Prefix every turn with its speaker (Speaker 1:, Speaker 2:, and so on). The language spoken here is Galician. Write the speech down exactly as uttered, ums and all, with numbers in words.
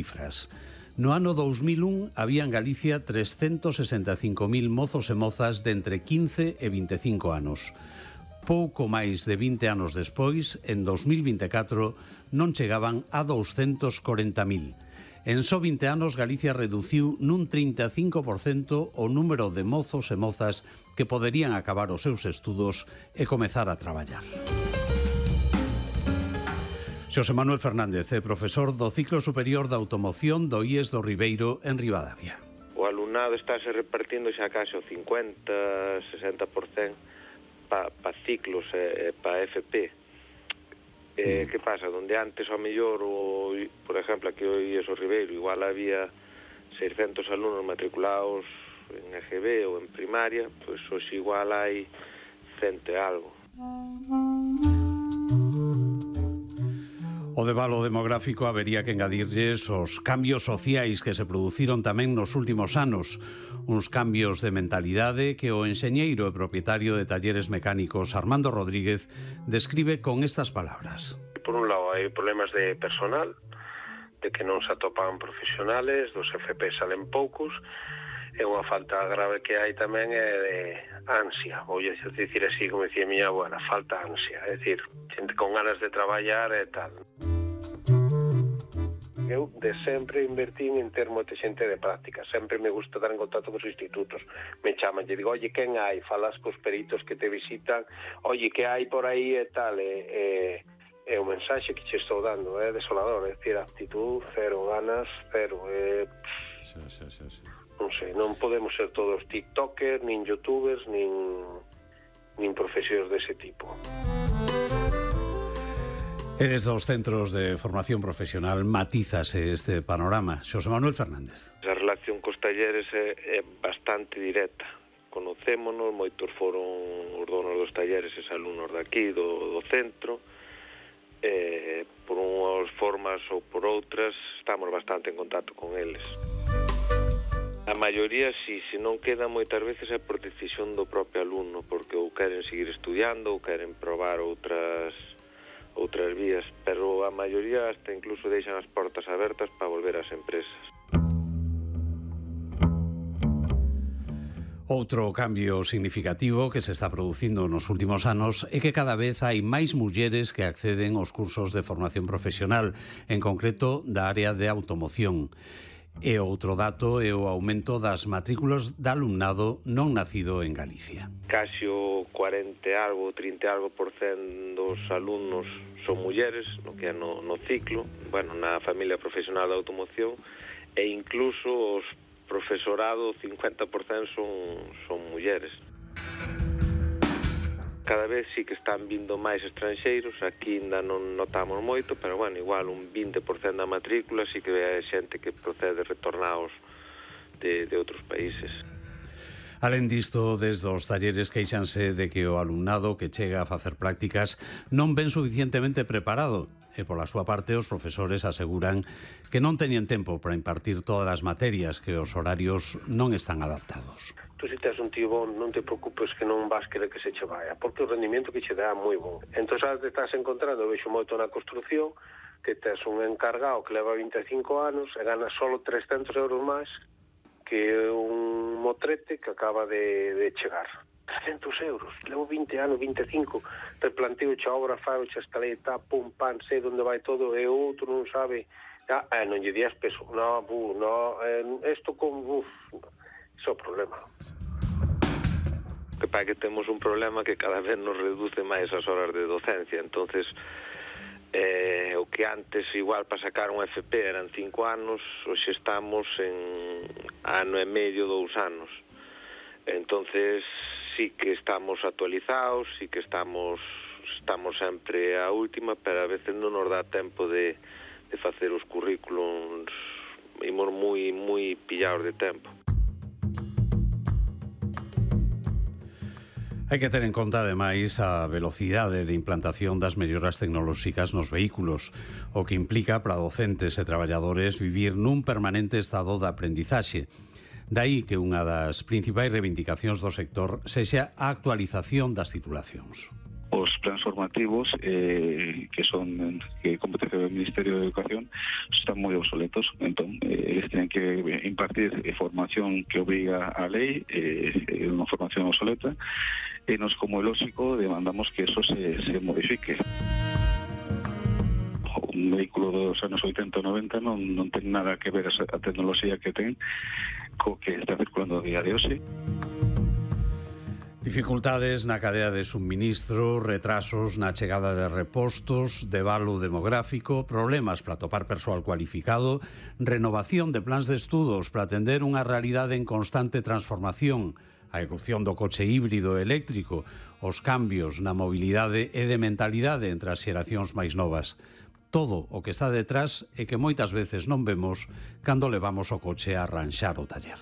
Speaker 1: cifras. No ano dous mil un había en Galicia trescentos sesenta e cinco mil mozos e mozas de entre quince e vinte e cinco anos. Pouco máis de vinte anos despois, en dous mil vinte e catro, non chegaban a douscentos corenta mil. En só vinte anos, Galicia reduciu nun trinta e cinco por cento o número de mozos e mozas que poderían acabar os seus estudos e comezar a traballar. Xosé Manuel Fernández é profesor do ciclo superior da automoción do I E S do Ribeiro en Ribadavia.
Speaker 2: O alumnado estáse repartindo xa case o cincuenta, sesenta por cento para pa ciclos e pa F P. Eh, mm. Que pasa? Donde antes, ao mellor, o, por exemplo, aquí o I E S do Ribeiro, igual había seiscentos alumnos matriculados en E G B ou en primaria, pois hoxe igual hai cento e algo.
Speaker 1: O debalo demográfico habería que engadirlles os cambios sociais que se produciron tamén nos últimos anos, uns cambios de mentalidade que o enxeñeiro e propietario de talleres mecánicos Armando Rodríguez describe con estas palabras.
Speaker 3: Por un lado, hai problemas de personal, de que non se atopan profesionales, dos F P salen poucos, e unha falta grave que hai tamén é de ansia, vou dicir así, como dicía a miña abuela, falta ansia, é dicir, xente con ganas de traballar e tal. Eu de sempre invertín en ter moita xente de práctica, sempre me gusta estar en contacto cos institutos, me chaman, lle digo, oye, quen hai? Falas cos peritos que te visitan, oye, que hai por aí e tal, e, e, e o mensaxe que che estou dando é desolador, é dicir, actitud, cero, ganas, cero, é...
Speaker 1: Sí, sí, sí, sí.
Speaker 3: Non sei, non podemos ser todos tiktokers, nin youtubers, nin, nin profesións dese tipo.
Speaker 1: E desde os centros de formación profesional matízase este panorama. Xosé Manuel Fernández.
Speaker 2: A relación cos talleres é, é bastante directa. Conocémonos, moitos foron os donos dos talleres e alumnos daqui, do, do centro. Eh, por unhas formas ou por outras, estamos bastante en contacto con eles. A maioría, si, se non queda moitas veces é por decisión do propio alumno, porque ou queren seguir estudiando ou queren probar outras outras vías, pero a maioría hasta incluso deixan as portas abertas para volver ás empresas.
Speaker 1: Outro cambio significativo que se está producindo nos últimos anos é que cada vez hai máis mulleres que acceden aos cursos de formación profesional, en concreto da área de automoción. E outro dato é o aumento das matrículas de alumnado non nacido en Galicia.
Speaker 2: Casi o cuarenta e algo, trinta e algo por cento dos alumnos son mulleres, no que é no, no ciclo, bueno, na familia profesional de automoción, e incluso os profesorado, cincuenta por cento son, son mulleres. Cada vez sí que están vindo máis estranxeiros, aquí ainda non notamos moito, pero bueno, igual un vinte por cento da matrícula sí que é xente que procede retornados de, de outros países.
Speaker 1: Alén disto, desde os talleres queixanse de que o alumnado que chega a facer prácticas non ven suficientemente preparado, e pola súa parte os profesores aseguran que non teñen tempo para impartir todas as materias, que os horarios non están adaptados.
Speaker 3: Tú, se tes un tío bon, non te preocupes que non vas querer que se che vaya, porque o rendimento que che dá é moi bon. Entón, sabes, te estás encontrando, vexo moito na construcción, que tes un encargado que leva vinte e cinco anos e gana solo trescentos euros máis que un motrete que acaba de, de chegar. trescentos euros, levo vinte anos, vinte e cinco, replanteo xa obra, faro xa escaleta, pum, pan, sei onde vai todo, e o outro non sabe, ah, eh, non lle días peso, no, bu, no, eh, esto con, uf, iso é o problema.
Speaker 2: Que para que temos un problema que cada vez nos reduce máis as horas de docencia, entonces eh, o que antes igual para sacar un F P eran cinco anos, hoxe estamos en ano e medio, dous anos. Entonces sí que estamos actualizados, sí que estamos estamos sempre a última, pero a veces non nos dá tempo de, de facer os currículums, imos moi moi pillados de tempo.
Speaker 1: Hai que ter en conta, ademais, a velocidade de implantación das melloras tecnolóxicas nos vehículos, o que implica para docentes e traballadores vivir nun permanente estado de aprendizaxe. Daí que unha das principais reivindicacións do sector sexa a actualización das titulacións.
Speaker 4: Os plans formativos eh, que son que competencia do Ministerio de Educación están moi obsoletos, entón eh, eles teñen que impartir eh, formación que obriga a lei, eh, unha formación obsoleta, e nos, como é lógico, demandamos que eso se, se modifique. Un vehículo dos anos oitenta ou noventa non, non ten nada que ver a tecnoloxía que ten co que está circulando a día de hoxe.
Speaker 1: Dificultades na cadea de suministro, retrasos na chegada de repostos, devalo demográfico, problemas para topar persoal cualificado, renovación de plans de estudos para atender unha realidade en constante transformación, a erupción do coche híbrido e eléctrico, os cambios na mobilidade e de mentalidade entre as xeracións máis novas. Todo o que está detrás e que moitas veces non vemos cando levamos o coche a arranxar o taller.